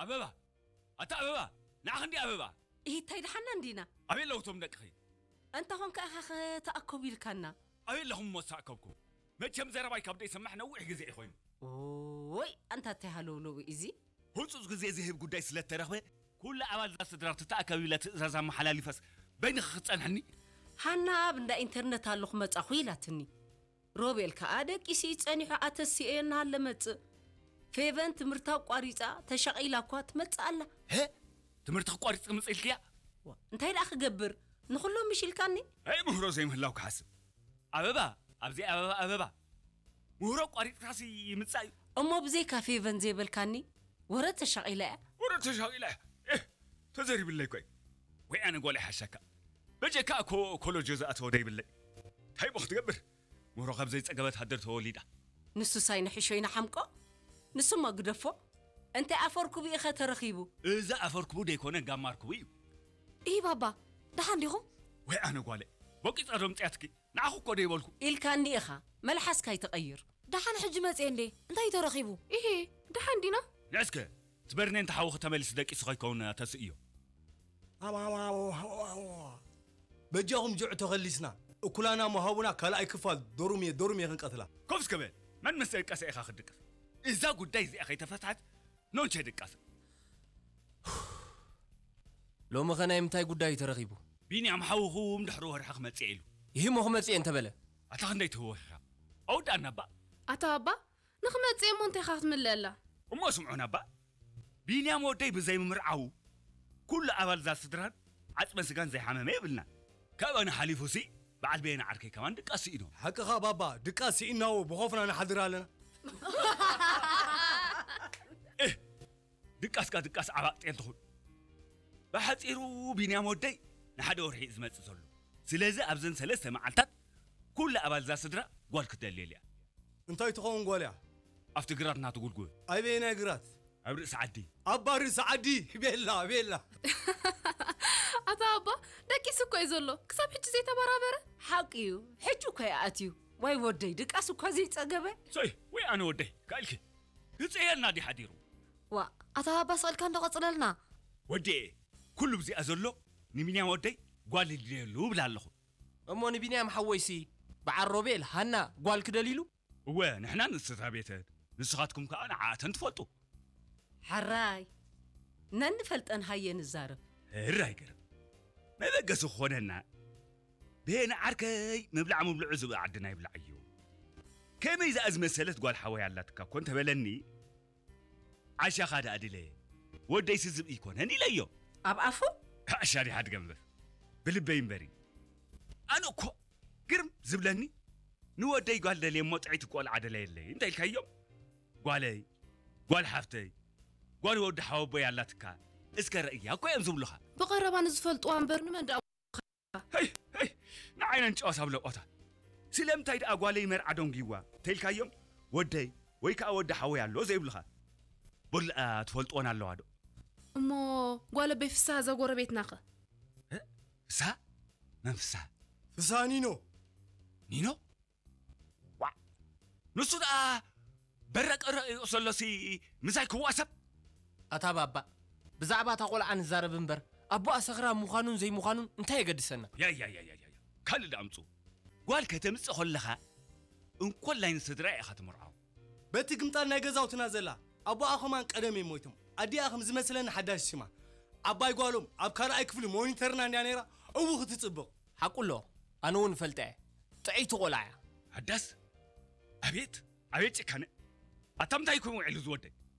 ኣበባ፣ ኣታ ኣበባ፣ ንዓኺ እንዲ ኣበባ። ኢሂ፣ እንታይ ደሓና እንዲና? ኣበይ ኣለዉ እቶም ደቅኺ? እንተ ኾንካ ኢኻ ከተኣከቡ ኢልካና። ኣበይ ኣለኹም እሞ ዝተኣከብኩም? መቸም ዘረባይ ካብ ደይሰማዕ ነዊሕ ግዜ እዩ ኮይኑ። ኦይ፣ ኣንታ እንታይ ሃለውለው እዩ እዚ? ህጹጽ ግዜ ዝህብ ጉዳይ ስለ እተረኽበ፣ ኩሉ ኣባል እዛ ስድራ ክትኣከብ ኢለ ትእዛዝ ኣመሓላሊፈስ በይንኺ ክትጸንሕኒ? ሃና ኣብ እንዳ ኢንተርነት ኣለኹ መጻኹ ኢላትኒ። ሮቤል ከኣ ደቂሱ እዩ ጸኒሑ ኣተሲኤ እናሃለ መጽእ። ፌቨን ትምህርታ ኣቋሪጻ ተሻቒላ እኳ ትመጽእ ኣላ። ሀ? ትምህርቲ ክቋሪጽ ክምጽእ ኢልክያ? ዋ፣ እንታይ ደኣ ክገብር? ንኹሎም ምሽ ኢልካኒ? ኣይ ምህሮ ዘይምህላው ክሓስብ። ኣበባ፣ ኣብዚ ኣበባ፣ ኣበባ። ምህሮ ኣቋሪጽካሲ ይምጻእ እዩ። እሞ ብዘይካ ፌቨን ዘይበልካኒ? ወረ ተሻቒላ እያ። ወረ ተሻቒላ እያ። ኤህ፣ ተዘሪብለይ ኮይ። ወይ ኣነ ጓል ይሓሸካ። በጀካ ኮ-፣ ኮሎጆ ዝኣተወ ደይብለይ። እንታይ እሞ ክትገብር? ምህሮ ካብ ዘይጸገበት ሃደር ተወሊዳ። ንሱስ ኣይንሕሾ ይንሓምቆ። ንሱማ ግደፎ። እንታይ ኣፈርኩቡ ኢኸ ተረኺቡ? እዚ ኣፈርኩቡ ደይኮነ ጋማርኩቡ እዩ። ኢሂ ባባ፣ ደሓን ዲኹም? ወይ ኣነ ጓለ፣ ቦቂጻ ዶ ምጽያትኪ? ንዓኹ እኮ ደይበልኩ። ኢልካኒ ኢኻ፣ መልሓስካ ኣይትቐይር። ደሓን ሕጂ መጽየ እንዴ? እንታይ እዩ ተረኺቡ? ኢሂ፣ ደሓን ዲና? ንዕስከ፣ ትበርኔ እንተ ሓውኺ ተመሊሱ ደቂሱ ከይከውን ተስእዮ። በጃኹም ጅዕ ተኸሊስና፣ እኩላና መሃቡና ካልኣይ ክፋል ዶሩምየ ዶሩምየ ክንቀትላ። ኮፍ እስከ በል፣ መን ምስ ደቀሰ ኢኻ ክትድቅስ? እዛ ጉዳይ እዚኣ ከይተፈትሐት ኖንቸ ድቃሰ። ሎሚ ኸ ናይ ምንታይ ጉዳይ እዩ ተረኺቡ? ቢንያም ሓውኹም ድሕሪ ወርሒ ክመጽእ ኢሉ። ይህሞ ክመጽእ እንተበለ? ኣታ ክንደይ ትህወኺኻ? ኣውዳእና እባ። ኣታ ባባ ንኽመጽእ እሞ እንታይ ኢኻ ክትምልእላ? እሞ ስምዑና እባ። ቢንያም ወደይ ብዘይ ምምርዓዉ ኩሉ ኣባል እዛ ስድራን ዓጽመ ስጋን ዘይሓመመ የብልናን። ካብኣና ሓሊፉሲ በዓል በየነ ዓርከይ ከማን ድቃስ ስኢኑ። ሓቅኻ ባባ፣ ድቃስ ስኢንናዎ ብኾፍና ንሓድር ኣለና። እህ፣ ድቃስካ ድቃስ ዓባቕ ጤል ትኹን። ብሓጺሩ ቢንያም ወደይ ንሓደ ወርሒ እዩ ዝመጽእ ዘሎ። ስለዚ ኣብዘን ሰለስተ መዓልታት ኩሉ ኣባል እዛ ስድራ ጓል ክትደልየሉ እያ። እንታይ ትኸውን ጓል እያ? ኣብቲ ግራት እናተጉልጉበ። ኣበየናይ ግራት? ኣብ ርእሲ ዓዲ። ኣብ ርእሲ ዓዲ። ቤላ ቤላ። ኣታ ኣባ ደቂሱ እኮ እዩ ዘሎ ክሳብ ሕጂ ዘይተበራበረ። ሓቂ እዩ። ሕጂ እኮ እዩ ኣትዩ። ዋይ ወደይ ድቃስ እኳ ዘይጸገበ። ሰይ ወይ ኣነ ወደይ ካኢልኪ ግጽየልና ድዩ ሓዲሩ? ዋእ ኣታ ባባ ስቕ ኢልካ እንዶ ቐጽለልና። ወድየ ኩሉ ብዚኣ ዘሎ ንቢንያም ወደይ ጓል ይድልየሉ እብል ኣለኹ። እሞ ንቢንያም ሓወይሲ በዓል ሮቤል ሃና ጓል ክደልይሉ? እወ ንሕና ንስድራ ቤተን ንስኻትኩም ከኣ ንዓኣተን ትፈልጡ። ሕራይ ነንፈልጠን ሃየ ንዛረብ። ሕራይ ገርም መበገሲ ክኾነና ብሄነ ዓርከይ ምብላዕ ምብልዑ ዝብኢ ዓድና ይብላዕ እዩ። ከመይ ዝኣ ዝመሰለት ጓል ሓወይ ኣላትካ እኮ እንተበለኒ ዓሻኻ ደኣ ድለ ወደይሲ ዝብኢ ኣይኮነን ኢለዮ። ኣብ ኣፉ ዓሻ ዲኻ ትገንፍፍ ብልበይ እምበሪ። ኣነ እኮ ግርም ዝብለኒ ንወደይ ጓል ደልየ እሞ ጥዕይቲ ቆልዓ ደለየለይ እንተ ኢልካዮም ጓለይ ጓል ሓፍተይ ጓል ወዲ ሓወቦይ ኣላትካ እስከ ረእያ እኮ እዮም ዝብሉኻ። ብቐረባ ንዝፈልጥዋ እምበር ንመን ደኣ ንዓይ ነንጨዋስ ኣብ ለቆታ ስለምንታይ ደኣ ጓለይ መርዓ ደንጉይዋ ተይልካዮም ወደይ ወይ ከኣ ወዲ ሓወይ ኣሎ ዘይብልኻ በሉኣ ትፈልጥወን ኣለዋ ዶ እሞ ጓል ኣቦይ ፍስሃ እዛ ጎረቤትናኸ ፍስሃ መን ፍስሃ ፍስሃ ኒኖ ኒኖ ዋዕ ንሱ ደኣ በረቀረቅ ይቕሰሎሲ ምሳይ ክዋሰብ ኣታ ባባ ብዛዕባ እታ ቆልዓ ንዛረብ እምበር ኣቦኣ ሰኽራም ምዃኑን ዘይምዃኑን እንታይ የገድሰና ያያያያያ ካልእ ደኣ ኣምጽኡ ጓል ከተምጽእ ከለኻ እንኮላይ ንስድራ ኢኻ ትምርዖ በቲ ግምጣል ናይ ገዛውትና ዘላ ኣቦኣ ኸማን ቀደም እዮም ሞይቶም ኣዲኣ ከም ዝመስለኒ ሓዳሽ ሽማ ዓባይ ጓሎም ኣብ ካልኣይ ክፍሊ ሞኒተርና እንድያ ነይራ እው ክትጽብቕ ሓቁ ኣሎ ኣነ እውን እፈልጣ እየ ጥዕይቲ ቆልዓ እያ ሓዳስ ኣቤት ኣቤት ጭካነ ኣታ ምንታይ ኮይኑ ውዒሉ ዝወደይ